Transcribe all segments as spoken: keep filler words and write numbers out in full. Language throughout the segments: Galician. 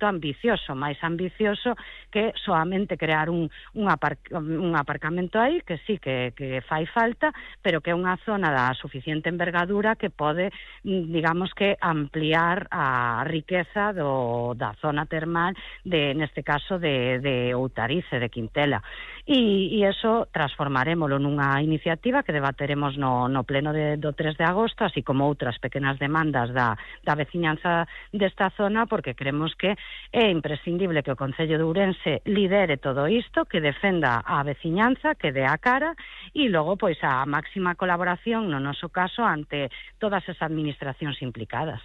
proxecto ambicioso, máis ambicioso que soamente crear un, un, apar, un aparcamento aí, que sí que, que fai falta, pero que é unha zona da suficiente envergadura que pode, digamos que, ampliar a riqueza do, da zona termal, de, neste caso, de, de Outariz, de Quintela. E, e eso transformarémolo nunha iniciativa que debateremos no, no pleno de, do tres de agosto, así como outras pequenas demandas da, da veciñanza desta zona, porque creemos que é imprescindible que o Concello de Ourense lidere todo isto, que defenda a veciñanza, que dé a cara, e logo, pois, a máxima colaboración, no noso caso, ante todas as administracións implicadas.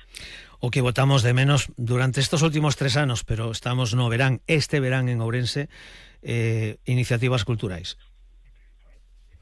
O que votamos de menos durante estos últimos tres anos, pero estamos no verán, este verán en Ourense, eh, iniciativas culturais.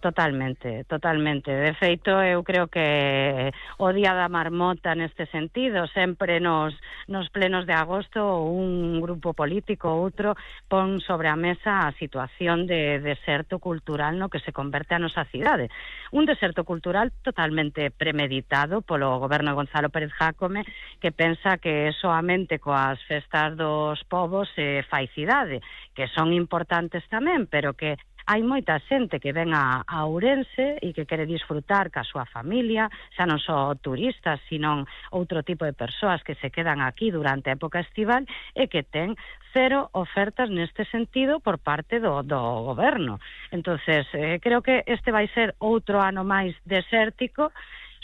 Totalmente, totalmente. De feito, eu creo que o Día da Marmota neste sentido, sempre nos, nos plenos de agosto un grupo político ou outro pon sobre a mesa a situación de deserto cultural no que se converte a nosa cidade. Un deserto cultural totalmente premeditado polo goberno de Gonzalo Pérez Jácome, que pensa que soamente coas festas dos povos se fai cidade, que son importantes tamén, pero que hai moita xente que ven a, a Ourense e que quere disfrutar ca súa familia, xa non só turistas, sino outro tipo de persoas que se quedan aquí durante a época estival e que ten cero ofertas neste sentido por parte do, do goberno. Entonces, eh, creo que este vai ser outro ano máis desértico,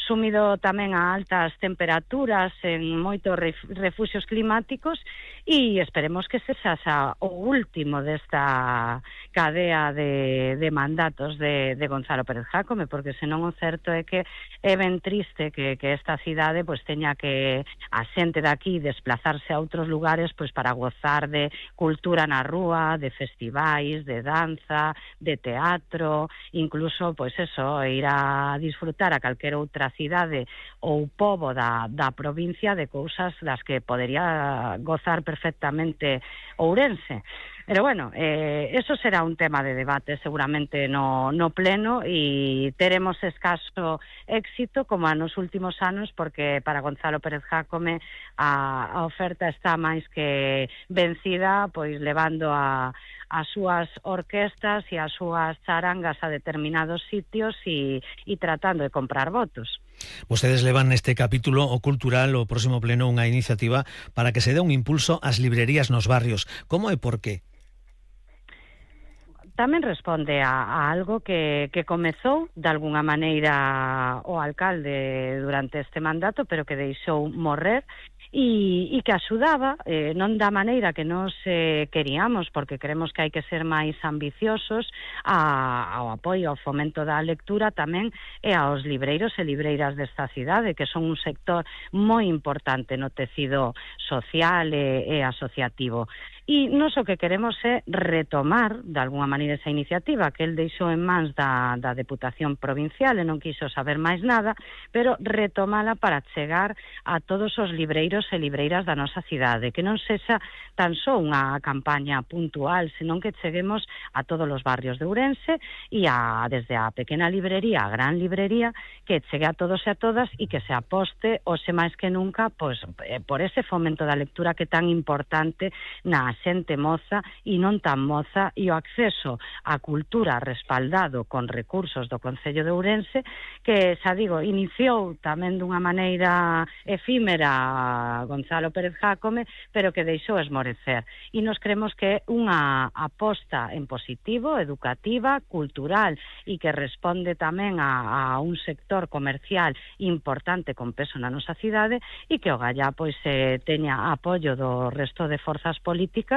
sumido tamén a altas temperaturas en moitos refuxios climáticos, e esperemos que se xa o último desta cadea de, de mandatos de, de Gonzalo Pérez Jácome, porque senón o certo é que é ben triste que, que esta cidade pois teña que a xente daqui desplazarse a outros lugares pois para gozar de cultura na rúa, de festivais, de danza, de teatro, incluso pois eso, ir a disfrutar a calquera outra cidade ou pobo da, da provincia de cousas das que podería gozar perfectamente Ourense. Pero bueno, eh, eso será un tema de debate seguramente no, no pleno, e teremos escaso éxito como a nos últimos anos, porque para Gonzalo Pérez Jácome a, a oferta está máis que vencida, pois levando a as súas orquestas e as súas charangas a determinados sitios e, e tratando de comprar votos. Vostedes levan neste capítulo o cultural o próximo pleno unha iniciativa para que se dé un impulso ás librerías nos barrios. Como e por qué? Tamén responde a, a algo que, que comezou de alguna maneira o alcalde durante este mandato, pero que deixou morrer, e, e que axudaba, eh, non da maneira que nos eh, queríamos, porque creemos que hai que ser máis ambiciosos, a, ao apoio ao fomento da lectura tamén e aos libreiros e libreiras desta cidade, que son un sector moi importante no tecido social e, e asociativo. E nos o que queremos é retomar, de alguna maneira, esa iniciativa que el deixou en mans da, da Deputación Provincial e non quiso saber máis nada, pero retomala para chegar a todos os libreiros e libreiras da nosa cidade, que non sexa tan só unha campaña puntual, senón que cheguemos a todos os barrios de Ourense e a, desde a pequena librería a gran librería, que chegue a todos e a todas e que se aposte, hoxe máis que nunca, pois, por ese fomento da lectura que é tan importante na xente moza e non tan moza, e o acceso á cultura respaldado con recursos do Concello de Ourense, que, xa digo, iniciou tamén dunha maneira efímera Gonzalo Pérez Jácome, pero que deixou esmorecer. E nos creemos que é unha aposta en positivo, educativa, cultural, e que responde tamén a, a un sector comercial importante con peso na nosa cidade, e que o gallá pois eh, teña apoio do resto de forzas políticas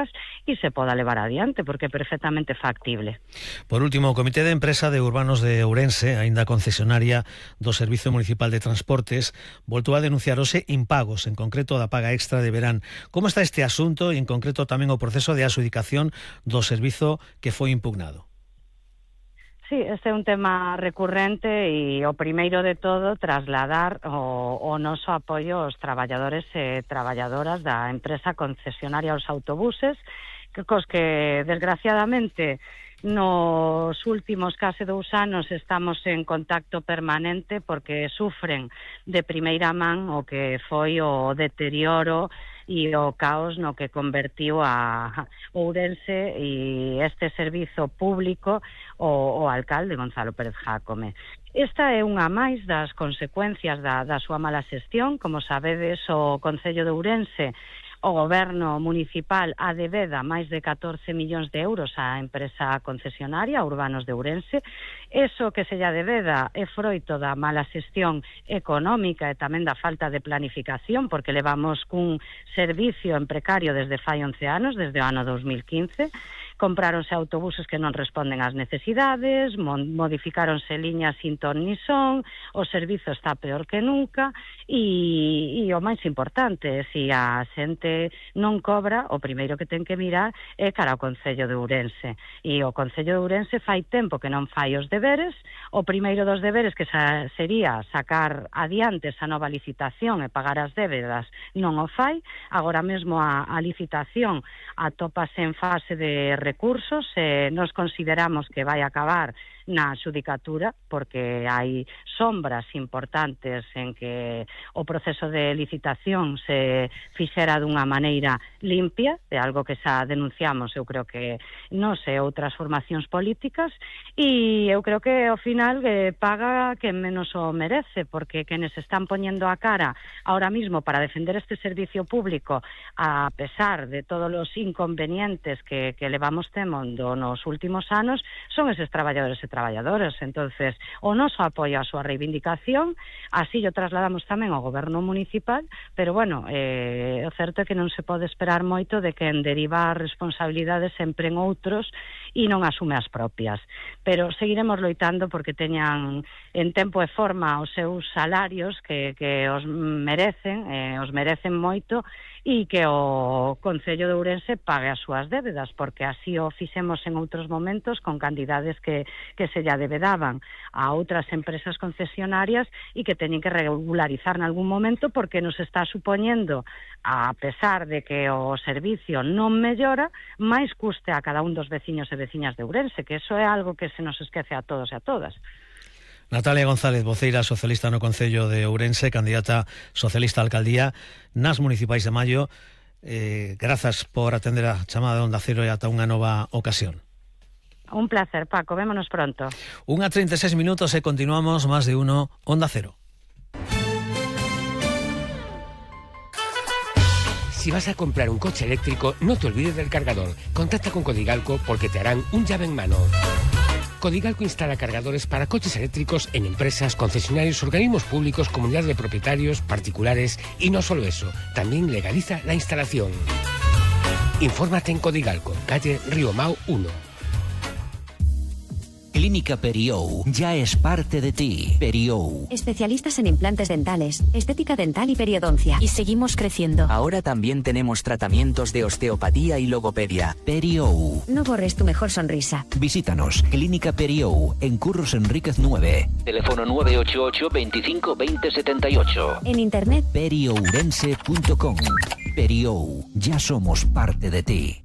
e se poda levar adiante, porque é perfectamente factible. Por último, o Comité de Empresa de Urbanos de Ourense, aínda concesionaria do Servizo Municipal de Transportes, voltou a denunciar hoxe impagos, en concreto da paga extra de verán. Como está este asunto e, en concreto, tamén o proceso de adxudicación do servizo que foi impugnado? Sí, este é un tema recurrente e o primeiro de todo trasladar o, o noso apoio aos traballadores e traballadoras da empresa concesionaria aos autobuses, que cos que desgraciadamente nos últimos case dous anos estamos en contacto permanente porque sufren de primeira man o que foi o deterioro e o caos no que convertiu a Ourense e este servizo público o, o alcalde Gonzalo Pérez Jácome. Esta é unha máis das consecuencias da, da súa mala xestión. Como sabedes, o Concello de Ourense, o goberno municipal adebeda máis de catorce millóns de euros á empresa concesionaria Urbanos de Ourense. Eso que se lle adebeda é froito da mala xestión económica e tamén da falta de planificación, porque levamos cun servicio en precario desde fai once anos, desde o ano dos mil quince. Compráronse autobuses que non responden ás necesidades, modificáronse liñas sin ton ni son, o servizo está peor que nunca e, e o máis importante, se a xente non cobra, o primeiro que ten que mirar é cara ao Concello de Ourense. E o Concello de Ourense fai tempo que non fai os deberes. O primeiro dos deberes que sa, sería sacar adiante esa nova licitación e pagar as débedas non o fai. Agora mesmo a, a licitación atópase en fase de recursos e nos consideramos que vai acabar na xudicatura porque hai sombras importantes en que o proceso de licitación se fixera dunha maneira limpia, de algo que xa denunciamos, eu creo que non sei, outras formacións políticas, e eu creo que ao final que paga quen menos o merece, porque quenes están poñendo a cara ahora mismo para defender este servicio público, a pesar de todos os inconvenientes que, que levamos temendo nos últimos anos, son eses traballadores e traballadoras. Entonces, o noso apoio á súa reivindicación, así o trasladamos tamén ao goberno municipal, pero bueno, eh, o certo é que non se pode esperar moito de quen deriva as responsabilidades sempre en outros e non asume as propias. Pero seguiremos loitando porque teñan en tempo e forma os seus salarios que, que os merecen, eh, os merecen moito, e que o Concello de Ourense pague as súas débedas, porque así o fixemos en outros momentos con cantidades que, que se lle adebedaban a outras empresas concesionarias e que teñen que regularizar en algún momento porque nos está supoñendo, a pesar de que o servicio non mellora, máis custe a cada un dos veciños e veciñas de Ourense, que eso é algo que se nos esquece a todos e a todas. Natalia González, voceira socialista no Concello de Ourense, candidata socialista a alcaldía nas municipais de Maio. Eh, grazas por atender a chamada de Onda Cero e ata unha nova ocasión. Un placer, Paco. Vémonos pronto. Unha treinta e seis minutos e continuamos máis de uno Onda Cero. Si vas a comprar un coche eléctrico, no te olvides del cargador. Contacta con Codigalco porque te harán un llave en mano. Codigalco instala cargadores para coches eléctricos en empresas, concesionarios, organismos públicos, comunidades de propietarios, particulares y no solo eso, también legaliza la instalación. Infórmate en Codigalco, calle Río Mau uno. Clínica Periou ya es parte de ti. Periou. Especialistas en implantes dentales, estética dental y periodoncia. Y seguimos creciendo. Ahora también tenemos tratamientos de osteopatía y logopedia. Periou. No borres tu mejor sonrisa. Visítanos. Clínica Periou, en Curros Enríquez nueve. Teléfono nueve ocho ocho, veinticinco, veinte, setenta y ocho. En internet periourense punto com. Periou. Ya somos parte de ti.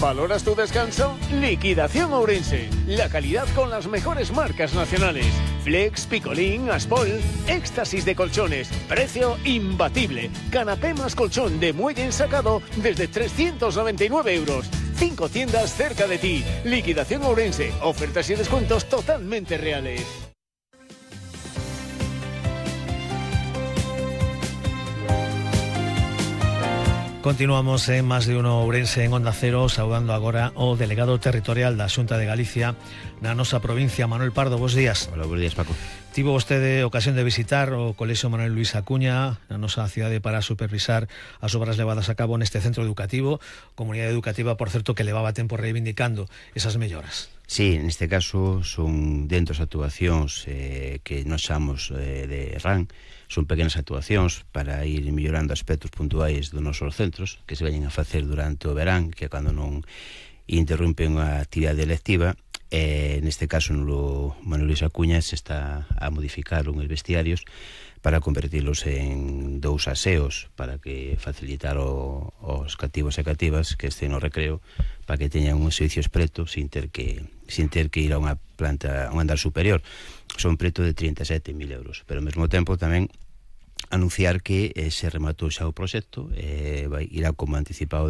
¿Valoras tu descanso? Liquidación Ourense. La calidad con las mejores marcas nacionales. Flex, Picolín, Aspol, éxtasis de colchones. Precio imbatible. Canapé más colchón de muelle ensacado desde trescientos noventa y nueve euros. Cinco tiendas cerca de ti. Liquidación Ourense. Ofertas y descuentos totalmente reales. Continuamos en Más de Uno Ourense en Onda Cero, saudando agora o delegado territorial da Xunta de Galicia na nosa provincia, Manuel Pardo. Bos días. Hola, bos días, Paco. Tivo vostede ocasión de visitar o Colexio Manuel Luis Acuña na nosa cidade para supervisar as obras levadas a cabo neste centro educativo, comunidade educativa, por certo, que levaba tempo reivindicando esas melloras. Sí, neste caso son dentro das actuacións eh, que nos chamamos eh, de R A N. Son pequenas actuacións para ir mellorando aspectos puntuais dos nosos centros que se veñen a facer durante o verán, que é cando non interrompen a actividade lectiva. Eh, neste caso no Manuel Luis Acuña se está a modificar uns vestiarios para convertilos en dous aseos para que facilitar o, os cativos e cativas que estén no recreo, para que teñan un servicio preto sin ter que sin ter que ir a unha planta, a un andar superior. Son preto de trinta e sete mil euros, pero ao mesmo tempo tamén anunciar que eh, se rematou xa o proxecto, eh, vai, irá como anticipado